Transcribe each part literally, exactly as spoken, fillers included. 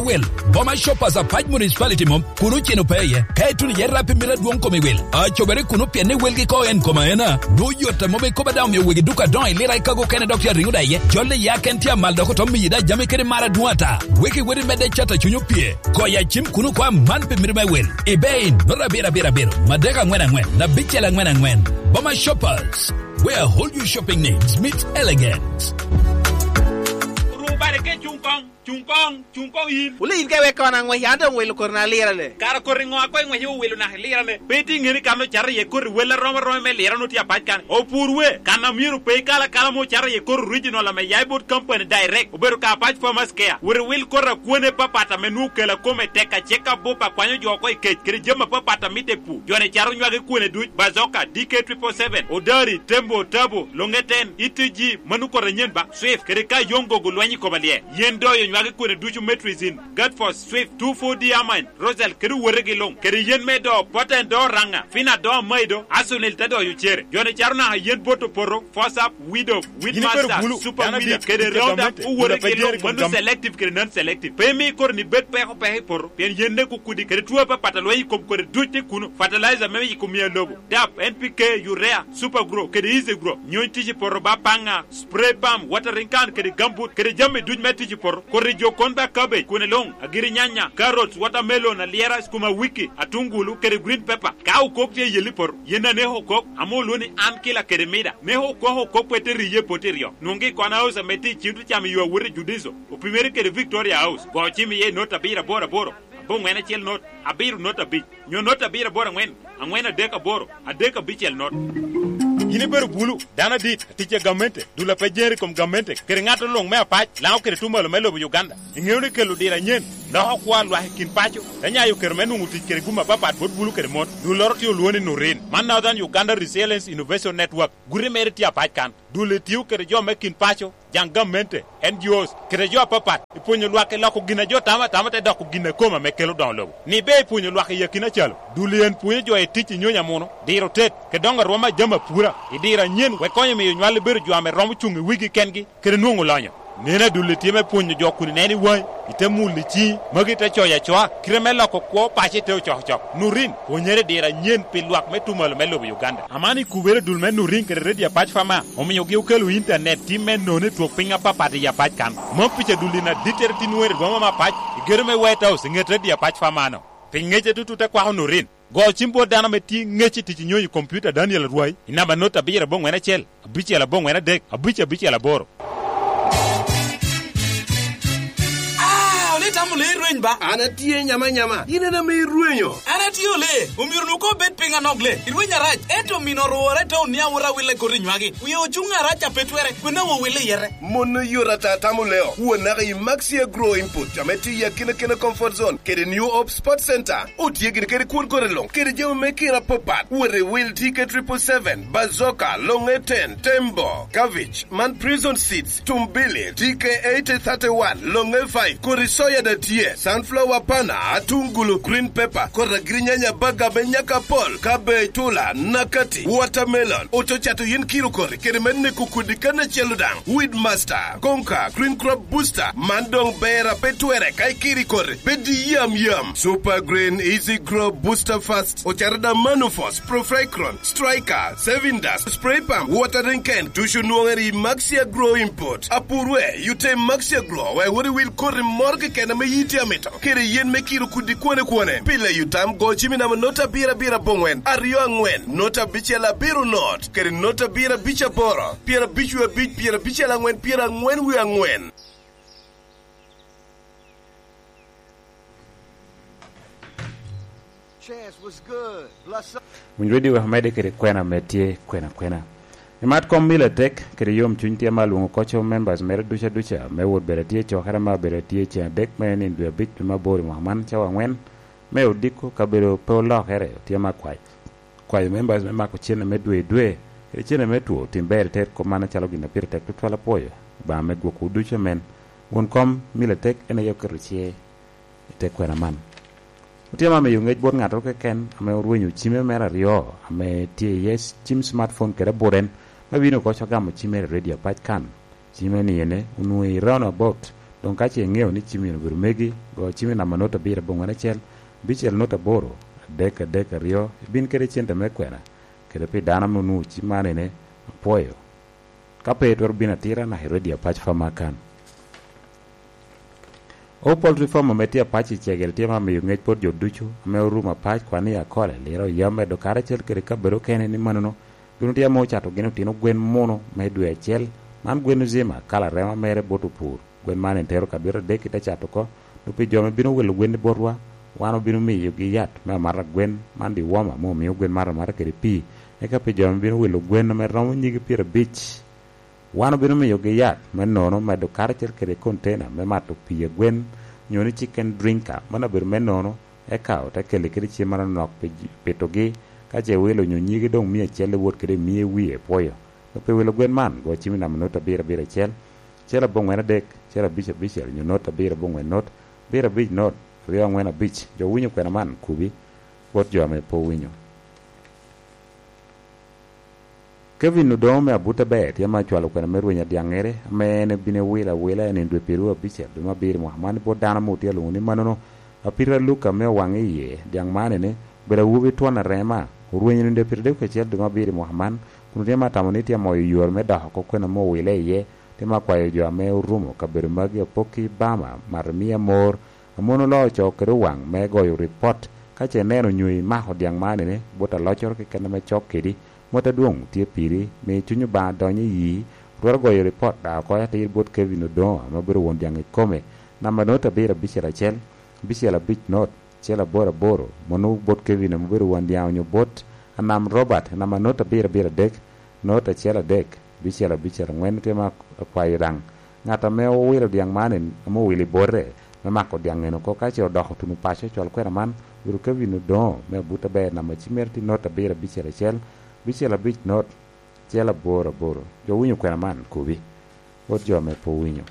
Wel, Boma Shoppers Apac Municipality mom, kun oceno pe iye. Ka ituno iye rap i mito adwoŋ kom i wel, acobere kuno pien ni welgi ko en kom aena. Dwo yot a mom ikobo daŋ omio wegi duka adoŋo i lira ikago kene dok tye ariŋo da iye. Jol i ya ken tye amal dok oto miyi da jami kede mar adwoŋ ata. Wegi weri medde cat a cuny opye. Koya cim kuno ko aman pi mito me wel. Ibe in, nota abiro abiro abiro, madek aŋwen aŋwen, abicel aŋwen aŋwen. Boma Shoppers, where all your shopping needs meet elegance. Rubare ke cuŋ koŋ. Cuŋ koŋ, cuŋ koŋ yin. Wule yin ka iwek kono aŋwec, an doŋ welo koti na lirane. Kara koti ŋo a koŋ iŋwec iwilo naka ilirane? Pe itye ŋeni kan ocato iye koti wel arom aroma me lirane otye apac kan. Opur we, kan a myero pe ikal akala ma ocato iye koti original ame ya i bot company direct, obedo ka Apac Farmers Care. Wot iwil koti a kwone apapat ame nwoŋo kela kome tek acek abup a kwanyo jo oko i kec, kede jami apapat a mitte i pur. Jo-ni cato nywagi kwone duc, Bazoka, D K triple seven, Odari, Tembo, Tabo, Longeten, E T G, mano koti anyen ba, Swift, kede ka yoŋ gogo lweny i koma lye. Yen doyo nywagi kwone ducu Metrizin, Gatfos, Swift, two four D Amine, Rosal, kede owotegi luŋ, kede yen me do, Poten do Raŋa, Fina do Amaido, Asunil te doyo cere. Jo-ni cato naka yen bot opoto, Fosap, Widow, Weedmaster, Super Weeder, kede Roundup, owotegi luŋ, mano selective kede non-selective. Pe imi koti-ni bed peko peko i poto, pien yen ne kukudi, kede two apapat a lweny i kom koti duc tye kuno, fertilizer me yiko mia lobo, dap, N P K, urea, Super Grow, kede Easy Grow, nyony tic i poto ba paŋa, spray pump, watering can, kede gambut, kede jami duc me tic i poto, koti jo kon ba cabbage, kwone luŋ, agiri nyanya, carrots, watermelon, alyera, sukuma wiki, atungulu, kede green pepper. Ka okok tye i yel i poto, yen aneko okok, ame olwo ni an kila kede mida. Neko okok okok pe te riye i poto iryo. Nwoŋgi i Kona House ame tye i Cintro Cam i yo awot i Judiso, opimere kede Victoria House. Go cim iye i not abiro aboro aboro, aboŋwen acel not, abiro not abic, nyo not abiro aboro aŋwen, aŋwen adek aboro, adek abicel not. Yin ibedo bulu, dano adit, atic a gamente, dul a pe jeri i kom gamente, kede ŋat luŋ me apac, Laŋo kede Tumalo me lobo Uganda. Iŋeo ni kelo diro anyen, loko kwo a lwak i kin paco, te nyayo kero me nwoŋo tic kede gum apapat bot bulu kede mon. Dulloro tye olwoŋo ni Nurin. Man Northern Uganda Resilience Innovation Network. Guti mere tye apac kan. Dul-li tio kede jo me kin paco, jaŋ gamente, N G Os, kede jo apapat, i pwonyo lwak i loko gin a jo tamo atama te doko gin a kome ame kelo doŋo lobo. Ni ber i pwonyo lwak i akina calo, dul-li en pwonyo jo i tic i nyonyo amuno, diro tet, kede doŋo arwom a jami apura, i diro anyen, wek konyo miyo nywal-li bedo jo ame romo cuŋ i wigi kengi, kede nwoŋo lonyo. Neno adul-li tye me pwonyo jo kun ineno i waŋi, ite mulo i ciŋi, magi te coyo acoa, kite me loko kwo paco i te ocokocok. Nurin, pwonyere diro anyen pi lwak me Tumalo me lobo Uganda. Aman i kubere dul me Nurin kede Radio Apac Fama, omiogi okelo intanet tim me nono i twok piny apapat i Apac kan. Mom pica dul-li na dittere tin wer i boma me Apac, i gedo me White House, i ŋet Radio Apac Fama-no. Pi ŋece tutu te kwako Nurin. Go cim bot dano ame tye ŋec i tic i nyonyo i kompiuta Daniel Arwai i namba not abiro aboŋwen acel, abicel aboŋwen adek, abic abicel aboro. Ah, ole tamo le irweny ba? An atye nyama nyama, in en ame irwenyo. An atye ole, omyero nu ko bed piny anok le. Irweny arac, ento mino orwore te onia wot awille koti nywagi. Wie ocuŋ arac a pe twere, kwena wo wille yete. Mon oyot ata tamo leo, wanaka i Maxia Grow Input, ame tye i akina kena comfort zone, kede New Hope Sports Center. Otye gin kede kwon kore luŋ, kede jami me kira apapat. Wot i wil T K triple seven, Bazooka, Longe ten, Tembo, Cabbage, man Prison Seeds, Tumbili, T K eighty thirty-one, Longe five, kodi soya da tye, sunflower pana, atungulu, green pepper, kodi agirinyanya baga me nyaka apol, cabbage, tula, nakati, watermelon, ococato yin kiro kori, kede me neko kodi kan acel daŋ, Weed Master, Conquer, Green Crop Booster, man doŋ ber a pe twere ka ikiri koti. Bed i yam yam. Super Green, Easy Grow, Booster Fast, ocaro da Manufos, Profecron, Striker, Saving Dust, Spray Pump, Watering Can, ducu nwoŋere i Maxia Grow Import. Apur we, yute i Maxia Grow, wek wot iwil koti moro keken ame yiti amito. Kede yen me kiro kudi kwone kwone. Pile yutam go cimi namba not abiro abiro aboŋwen, aryo aŋwen, not abicel abiro not, kede not abiro abic aboro, pyera abic wie abic, pyera abicel aŋwen, pyera aŋwen wie aŋwen. Winy Radio wek omedde kede kwena ame tye kwena kwena. Imat kom mil atek kede yom cuny tye ma alwoŋo koco members mere duca duca me wot bedo atye i cokere ma obedo atye ceng adek me niŋ dwe abic dwe me aboro i mwaka man cawa angwen me odiko kabedo pe olokere otye ma kwac. Kwayo members me mako cene me dwe i dwe kede cene me two otim ber i ter kop man acalo gin a pire tek tutwal apwoyo Obaŋa me gwokwu ducu amen. Won kom mil atek en aye oketo cer i te kwena man. Otye ma miyo ŋec bot ŋattoro keken ame orwenyo cime mere aryo ame tye iye cim smartphone kede abut en ma bino oko cok gamo cim mere i radio apac kan. Cime ni ene onwoŋo i roundabout Doŋ ka ce iŋeo ni cimmi obedo megi, go cimmi namba not abiro aboŋwen acel, abicel not aboro, adek adek aryo, ibin kede cente me kwena, kede pi dano ame onwoŋo cim man ene, apwoyo. Ka pe itwero bino atira naka i redio apac fam akan. O Poultry Farm ame tye apac i Cegel tye ma miyo ŋec bot jo ducu ame orumo apac, kwan i Akole, Lira, Oyam, Medo karacel kede kabedo okene ni mannono bino tye ame ocato gin otino gwen muno me dwe acel. Man gwen ozima kala rema mere bot opur. Gwen man en tero kabedo adek i te cat oko, dok pi jo ame bino wilo gwen i botwa, wan obino miyogi yat me amata gwen man diwoma ame omio gwen mato amata kede pii. Eka pi jo ame bino wilo gwen ame romo nyigi pyerabic, wan obino miyogi yat me nono medo karacel kede kontena me mato pii a gwen, nyo ni chicken drinker, mano abedo me nono, eka ote kelle kede cem manok pi ji- pitogi. Ka ce iwilo nyo nyigi doŋ mia acel iwot kede i mia i wie, pwoyo. Dok pi wilo gwen man, go cim i namba not abiro abiro acel, acel aboŋwen adek, acel abic abicel, nyo not abiro aboŋwen not, abiro abic not, aryo aŋwen abic. Jo winyo kwena man, kubi, bot jo ame pe owinyo. Kevin Odongo me Abuta Ber tye ma acwalo kwena me rweny adyaŋŋere, ame en ebino ewilo awila i nino dwe pyeraryo abicel dwe me abiro i mwaka man, bot dano ame otye alwoŋo ni mannono. Apita Luka me Owaŋ Iye, dyaŋ man ene, obedo awobi twon arema, orwenyo i nino dwe pyeraryo kacel dwe me abiro i mwaka man, kun otye ma tamo ni tye amoyo yore me dok oko kwena ame owile iye. Tye ma akwayo jo ame orumo kabedo magi apokki Bama, mato miya mor, Amono oloo co kede owaŋ me goyo ripot. Ka ce ineno nyo imako dyaŋ man ene bot aloccoro keken ame cok kedi, mot adwoŋ tye piri, mi cuny Obaŋa dony i yii. Twero goyo ripot daŋ oko atir bot Kevin Odongo ame obedo won dyaŋ ikome. Namba not abiro abicel acel, abicel abic not, acel aboro aboro, mano bot Kevin ame obedo won dyaŋ onyo bot Anam Robert, namba not abiro abiro adek, not acel adek, abicel abicel aŋwen. Tye ma akwayo daŋ ŋat ame owilo dyaŋ man en, ame owilo i bote me mako dyaŋ en oko, ka ce odoko tuno paco cwal kwena man, obedo Kevin Odongo me Abuta Ber, namba cim mere tye not abiro abicel acel, abicel abic not, acel aboro aboro. Jo winyo kwena man, kubi. Bot jo ame pe owinyo.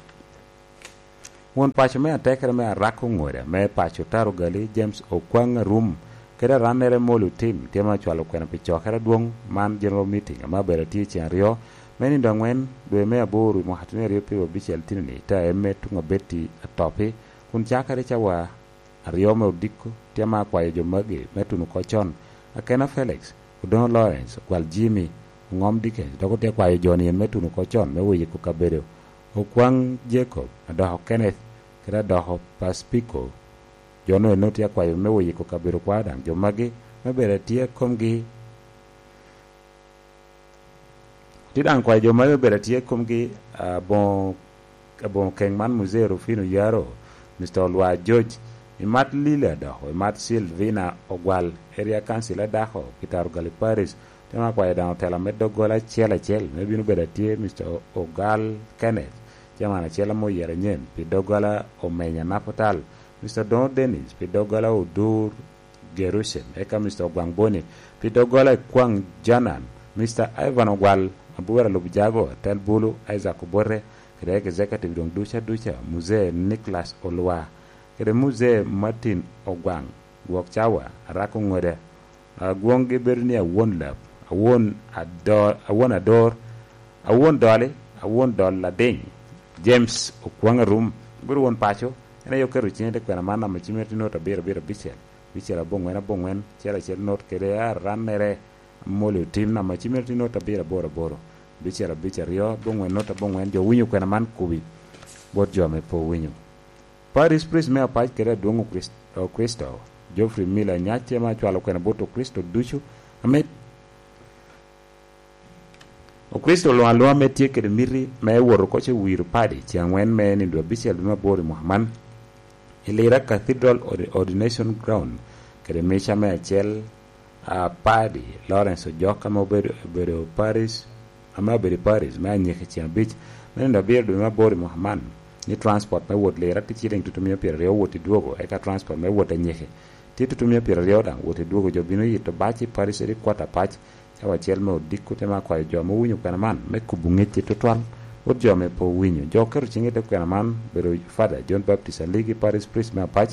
Won paco me atekere me Arako Ŋoda me paco Taro Gali, James Okwaŋ Arum, kede arannere Molo Tim, tye ma cwalo kwena pi cokere adwoŋ man, general meeting, ame abedo atye ceŋ aryo me nino aŋwen dwe me aboro i mwaka twenty aryo pyeraryo abicel tini-ni, te eme tuŋ abetti atoppi, kun cakere cawa aryo me odiko. Tye ma akwayo jo magi me tuno oko con: Akena Felix, Odongo Lawrence, Ogwal Jimmy, Oŋom Dickens, dok otye akwayo jo-ni en me tuno oko con me wiyiko kabedo Okwaŋ Jacob, Adoko Kenneth, kede Adoko Pacifico. Jo-nu eno tye akwayo me wiyiko kabedo kwao daŋ jo magi me bedo atye komgi. Tye daŋ kwayo jo magi me bedo atye komgi, aboŋo, aboŋo keŋ man, Muzee Rufino Yaro, Mister Olwa George, imat Lila Adoko, imat Silvina Ogwal, Area Council Adako, Peter Ogali Paris. Tye ma akwayo daŋ otela me doggola acel acel me bino bedo atye, Mister Ogal Kenneth, Chairman acel ame oyero anyen pi doggola Omenya Naputal, Mister Dongo Dennis pi doggola Odur Jerusalem, eka Mister Ogwaŋ Boni pi doggola Ekwaŋ Janan, Mister Ivan Ogwal, Abura Lub Jago, Tel Bulu, Isaac Obote, kede executive doŋ duca duca, Muzee Nicholas Olwa, kede Muzee Martin Ogwaŋ, Gwok Cawa, Arako Ŋoda, agwoŋgi bedo ni Awon Lab, Awon Ador, Awon Ador, Awon Doli, Awon Dol Lading, James Okwaŋ Arum, bedo won paco, en aye oketo ciŋe i te kwena man, namba cim mere tye not abiro abiro abicel, abicel aboŋwen aboŋwen, acel acel not kede arannere Amoli Otim, namba cim mere tye not abiro aboro aboro, abicel abic aryo, aboŋwen not aboŋwen. Jo winyo kwena man kubi bot jo ame pe owinyo. Parish priest me apac kede adwoŋ Okrist-, Okricito, Geoffrey Miller Nyac, tye ma acwalo kwena bot Okricito ducu ame Okricito luŋ aluŋa ame tye kede miti me wot oko ce wiro padi ceŋ aŋwen me nino abicel dwe me aboro i mwaka man, i Lira Cathedral Ord-, Ordination Ground, kede mica me acel a padi, Lawrence Ojok, ame obedo, obedo Paris, ame obedo i Paris me anyiki ceŋ abic me nino abiro dwe me aboro i mwaka man, ni transport me wot Lira tye ciling tutumia pyeraryo wot i dwogo, eka transport me wot anyiki tye tutumia pyeraryo daŋ wot i dwogo. Jo bino yito bac i Paris headquarter apac, cawa acel me odiko. Te me akwayo jo ame owinyo kwena man me kubo ŋecci tutwal bot jo ame pe owinyo. Jo oketo ciŋgi i te kwena man obedo Father John Baptist Aligi, Parish Priest me apac,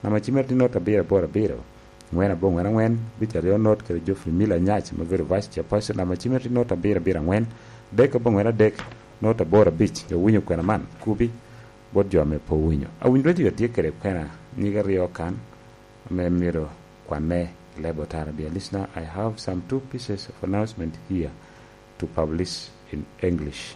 namba cim mere tye not abiro aboro abiro, aŋwen aboŋwen aŋwen, abic aryo not, kede Geoffrey Miller Nyac, ma obedo Vice Chairperson, namba cim mere tye not abiro abiro aŋwen, adek aboŋwen adek, not aboro abic. Jo winyo kwena man, kubi bot jo ame pe owinyo. Awinyo dwon jo tye kede kwena nyig aryo kan ame myero kwanne i leb otara. Dear listener, I have some two pieces of announcement here to publish in English.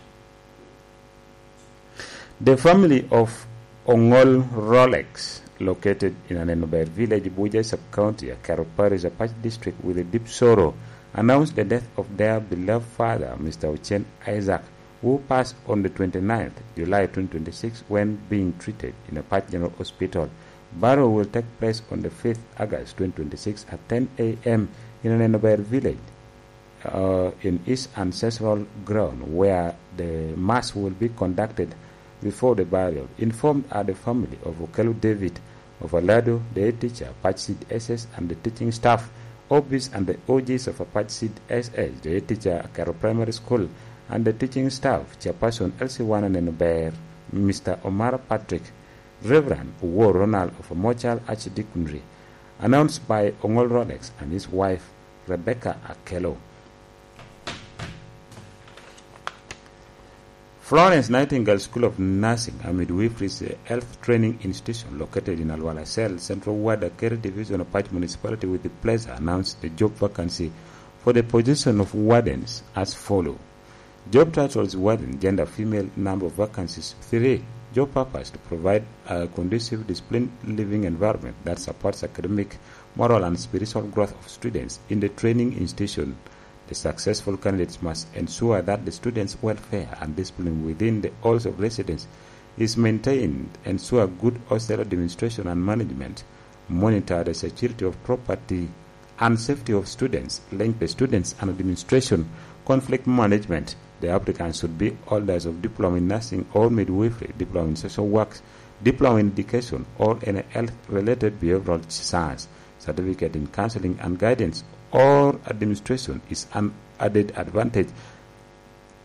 The family of Ongol Rolex, located in Anenober village, Buja sub-county, Akero Parish, Apac District, with a deep sorrow, announced the death of their beloved father, Mister Ochen Isaac, who passed on the twenty-ninth July twenty twenty-six when being treated in Apac General Hospital. Burial will take place on the fifth August twenty twenty-six at ten a m in Anenober village, uh, in his ancestral ground, where the mass will be conducted before the burial. Informed are the family of Okello David of Alado, the head teacher, Apac Seed S S, and the teaching staff, O Bs and the O Gs of Apac Seed S S, the head teacher, Akero Primary School, and the teaching staff, chairperson L C one Anenober, Mister Omara Patrick, Reverend Owor Ronald of Amochal Archdeaconry. Announced by Ongol Rolex and his wife, Rebecca Akello. Florence Nightingale School of Nursing and Midwifery is a health training institution located in Alwala Cell, Central Ward, Akere Division of Apac Municipality, with the pleasure announced the job vacancy for the position of wardens as follow. Job titles: warden, gender female, number of vacancies three. Job purpose: to provide a conducive disciplined living environment that supports academic, moral and spiritual growth of students in the training institution. The successful candidates must ensure that the students' welfare and discipline within the halls of residence is maintained, ensure good hostel administration and management, monitor the security of property and safety of students, link the students and administration, conflict management. The applicants should be holders of diploma in nursing or midwifery, diploma in social works, diploma in education, or any health-related behavioral science. Certificate in counseling and guidance or administration is an added advantage.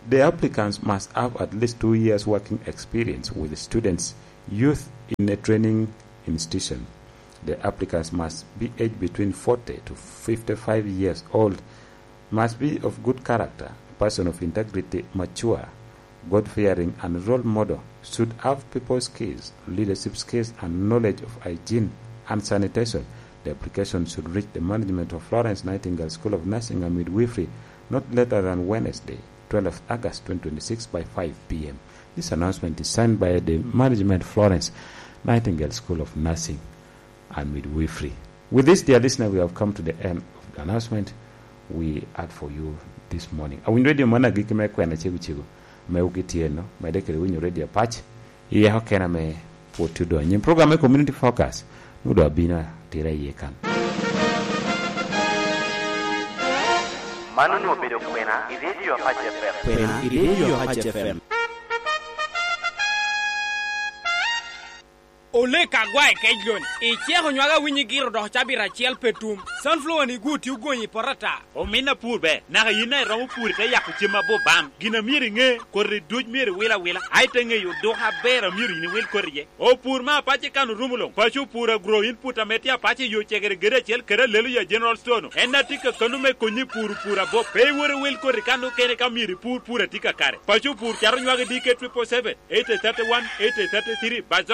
The applicants must have at least two years working experience with students, youth in a training institution. The applicants must be aged between forty to fifty-five years old, must be of good character, person of integrity, mature, God-fearing, and role model, should have people skills, leadership skills, and knowledge of hygiene and sanitation. The application should reach the management of Florence Nightingale School of Nursing and Midwifery not later than Wednesday, twelfth August twenty twenty-six, by five p m. This announcement is signed by the management, Florence Nightingale School of Nursing and Midwifery. With this, dear listener, we have come to the end of the announcement we had for you this morning. Awinyo redio man agikki me kwena cego cego, me wuki tye no, mede kede winyo redio Apac, i eko kena me pwod tye odonyo. Nyim program me Community Focus, nwodo abino atira iye kan. Man onwoŋo obedo kwena i redio Apac F M. Kwena i redio Apac F M. Olek agwa i kec loni, iceko nywag awinyi giro dok cabito acel pe tum. Sunflower ni gwo tye ogonyi i poto ata. Omin apur ber, naka yin daŋ iromo pur ite yako cem abobam. Gin a myero iŋe, koti duc myero iwil awila, a ite ŋeyo oduka aber a myero yin iwil koti iye. Opur me apac i kan orumo luŋ, paco opur agro input ame tye apac i yo cegere gede acel kede alelo ya General Store-nu. En a tye kakano me konyi i puro pur abop. Pe iwot iwil koti kan okene ka myero ipur pur a tye kakare. Paco opur cato nywagi D K triple seven, eight thirty-one, eight thirty-three,